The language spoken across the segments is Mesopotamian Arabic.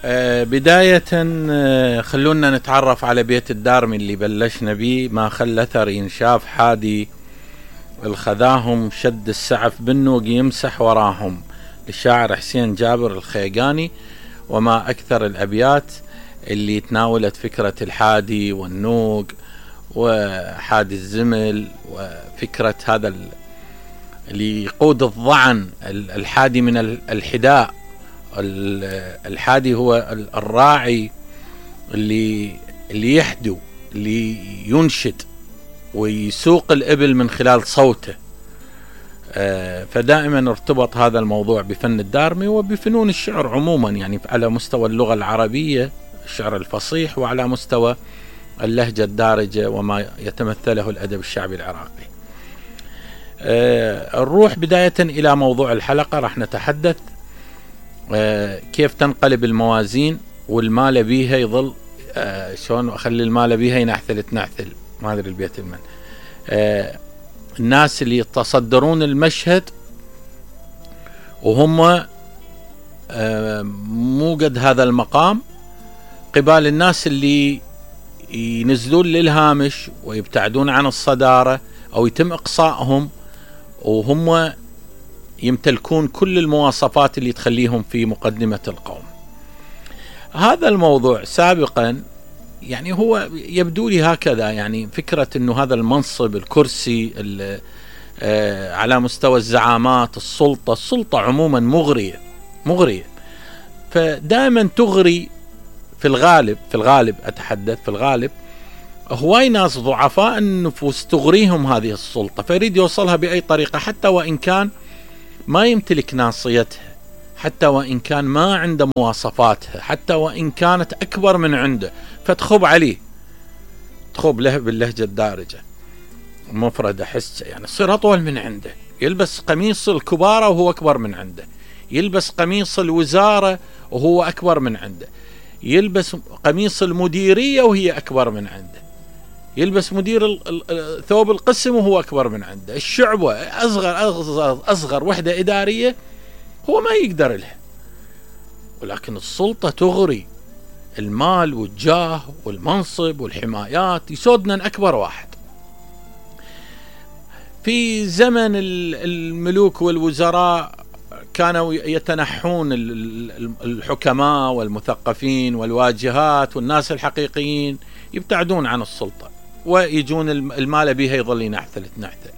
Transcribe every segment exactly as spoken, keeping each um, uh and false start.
آه بداية آه خلونا نتعرف على بيت الدارمي اللي بلشنا بيه. ما خلى أثر ينشاف حادي الخذاهم، شد السعف بالنوق يمسح وراهم، للشاعر حسين جابر الخيقاني. وما أكثر الأبيات اللي تناولت فكرة الحادي والنوق وحادي الزمل، وفكرة هذا اللي يقود الضعن، الحادي من الحداء. الحادي هو الراعي اللي اللي يحدو، اللي ينشد ويسوق الإبل من خلال صوته. فدائما ارتبط هذا الموضوع بفن الدارمي وبفنون الشعر عموما، يعني على مستوى اللغة العربية الشعر الفصيح، وعلى مستوى اللهجة الدارجة وما يتمثله الأدب الشعبي العراقي. نروح بداية إلى موضوع الحلقة. راح نتحدث كيف تنقلب الموازين والمال بيها يظل شلون أخلي المال بيها ينحثل تنحثل، ما أدري البيت المن. الناس اللي يتصدرون المشهد وهم مو قد هذا المقام، قبال الناس اللي ينزلون للهامش ويبتعدون عن الصدارة أو يتم إقصائهم وهم يمتلكون كل المواصفات اللي تخليهم في مقدمة القوم. هذا الموضوع سابقا يعني هو يبدو لي هكذا، يعني فكرة انه هذا المنصب الكرسي على مستوى الزعامات، السلطة السلطة عموما مغرية مغرية فدائما تغري في الغالب في الغالب أتحدث في الغالب هواي ناس ضعفاء النفوس تغريهم هذه السلطة، فيريد يوصلها بأي طريقة، حتى وإن كان ما يمتلك ناصيتها، حتى وإن كان ما عنده مواصفاتها، حتى وإن كانت أكبر من عنده، فتخب عليه، تخب له باللهجة الدارجة مفردة حسة، يعني تصير أطول من عنده، يلبس قميص الكبارة وهو أكبر من عنده، يلبس قميص الوزارة وهو أكبر من عنده، يلبس قميص المديرية وهي أكبر من عنده، يلبس مدير ثوب القسم وهو أكبر من عنده، الشعبة أصغر أصغر أصغر وحدة إدارية هو ما يقدر لها. ولكن السلطة تغري، المال والجاه والمنصب والحمايات يسودنا أكبر واحد. في زمن الملوك والوزراء كانوا يتنحون الحكماء والمثقفين والواجهات والناس الحقيقيين، يبتعدون عن السلطة ويجون المال بها يظل ينحثل تنحثل.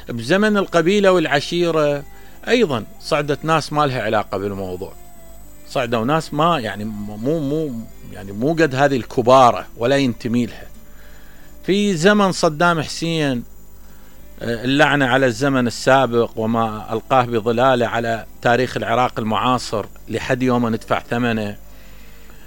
بزمن القبيلة والعشيرة أيضا صعدت ناس ما لها علاقة بالموضوع، صعدوا ناس ما يعني مو مو يعني مو قد هذه الكبارة ولا ينتمي لها. في زمن صدام حسين اللعنة على الزمن السابق وما ألقاه بظلاله على تاريخ العراق المعاصر لحد يوم ندفع ثمنه،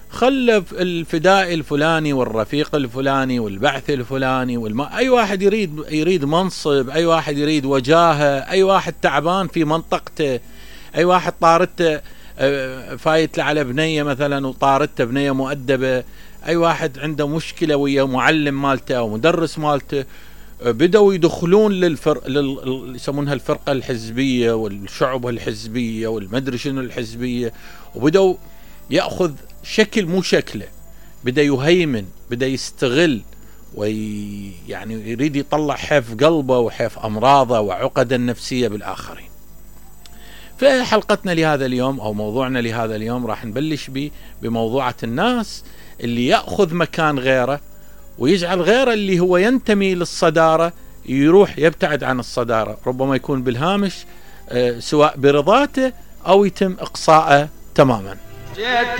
خلف الفدائي الفلاني والرفيق الفلاني والبعث الفلاني والم... أي واحد يريد يريد منصب، أي واحد يريد وجاهة، أي واحد تعبان في منطقته، أي واحد طارته فايت له على بنية مثلا وطارته بنية مؤدبة، أي واحد عنده مشكلة ويا معلم مالته أو مدرس مالته، بدأوا يدخلون للفرق لل... يسمونها الفرقة الحزبية والشعبة الحزبية والمدري شنو الحزبية، وبدأوا يأخذ شكل مو شكله، بدأ يهيمن، بدأ يستغل، ويعني يريد يطلع حيف قلبه وحيف أمراضه وعقده النفسية بالآخرين. فحلقتنا لهذا اليوم أو موضوعنا لهذا اليوم راح نبلش به بموضوعة الناس اللي يأخذ مكان غيره ويجعل غيره اللي هو ينتمي للصدارة يروح يبتعد عن الصدارة، ربما يكون بالهامش سواء برضاته أو يتم إقصاءه تماما.